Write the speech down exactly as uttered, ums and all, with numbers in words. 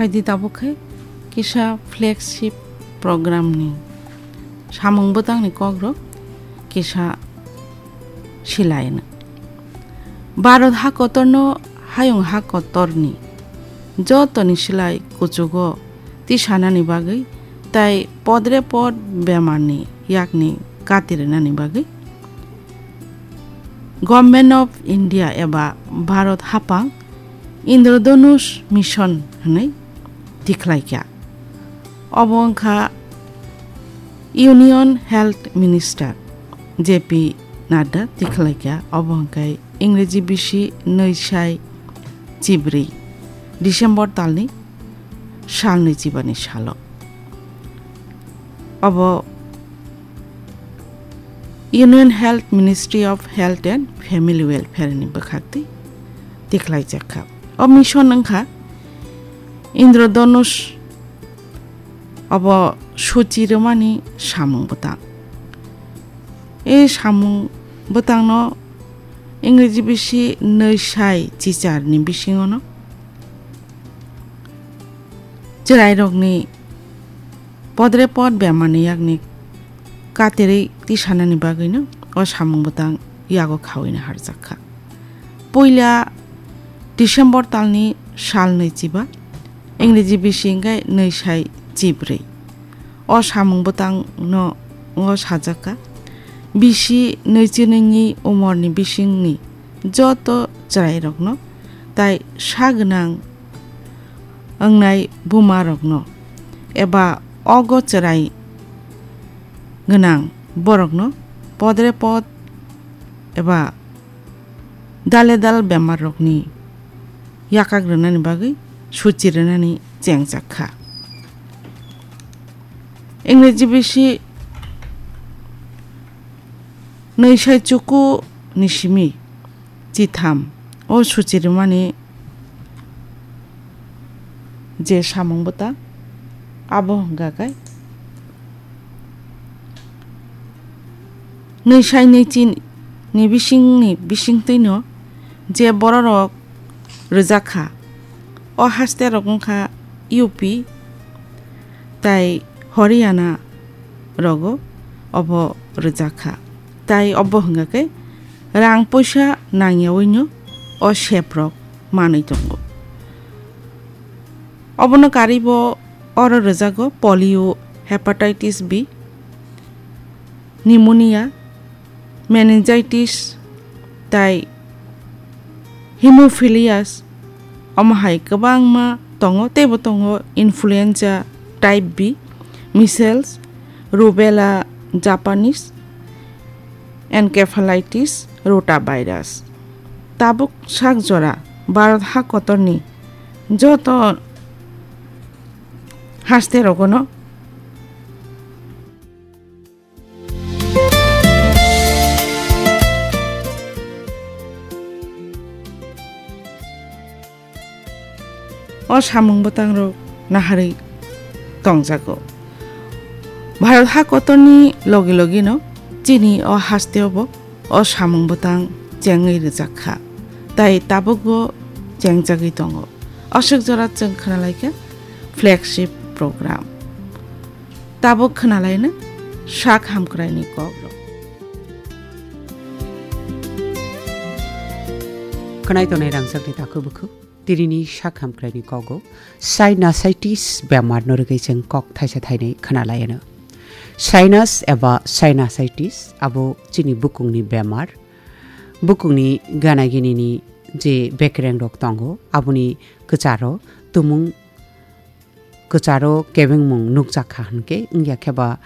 Baidi tabuk khe kisa flagship program ni samung bwtang ni kok rok kisa silaino. Bharat ha kotor no hayung ha kotor ni joto ni silai kuchugo tisanani bagwi tai podre pod bemar ni yakni kati rwnani bagwi Government of India eba Bharat hapang Indradhanush Mission hwnwi tikhlaikha. Obo wngkha Union Health Minister J P Nadda tikhlaikha. Obo hwnkhe Ingreji bisi nwi sai chibrwi December talni salnwi chibani salo. Obo Union Health Ministry of Health and Family Welfare ni bwkhak twi tikhlaijakha. O mission wngkha Indradhanush, obo suchi rwmani samung bwtang. E samung bwtangno Ingreji bisi nwi sai chichar ni bisingono chwrairokni podre pod bemarni yakni katirwi tisanani bagwino o samung bwtang yago khawina harjakha. Puila December talni sal nwi chiba, Ingreji bisi hwnkhe nwi sai chibrwi. O samung bwtangno o sajakha, bisi nwi chinwi ni umorni bisingni joto chwrairokno tai sa gwnang wngnai bumarokno eba ogo chwrai gwnang borokno podre pod eba dale dal bemarrokni yakak rwnani bagwi suchi rwnani chengjak kha. Ingreji bisi nwi sai chuku ni simi chitham o suchi rwmani je samung bwtang, abo hwnkha khe nwi sai nwi chin ni bisingni bisingtwino je bororok rwjak kha, o haste rok wngkha U P tai Haryana rogo obo rwjak kha. Tai obo hwnkha khe rang puisa nangyawino o sep rok manwi tongo. Obono karwibo oro rwjago polio, hepatitis B, pneumonia, meningitis tai hemophilias, omo hai kwbangma tongo, teibo tongo influenza type B, measles, rubella, Japanese encephalitis, rotavirus. Tabuk sak jora Bharat ha kotorni joto haste rogono o samung bwtangrok naharwi tongjago. Bharat ha kotorni logi logino chini o hasteo bo o samung bwtang chengwi rwjak kha, tai tabukbo chengjagwi tongo. Aswk jora chwng khwnalaikha flagship program. Tabuk khwnalaino sak hamkraini kokrok. Khwnai tongnai rangchakni takhuk bukhuk, tinini sak hamkraini kogo sinusitis bemarno rwgwi chwng kok thaisa thainwi khwnalaino. Sinus eba sinusitis abo chini bukungni bemar. Bukungni gana ginini je bekrengrok tongo, aboni kwcharo tumung kwcharo kebengmung nukjak kha hwnkhe, wngya khe ba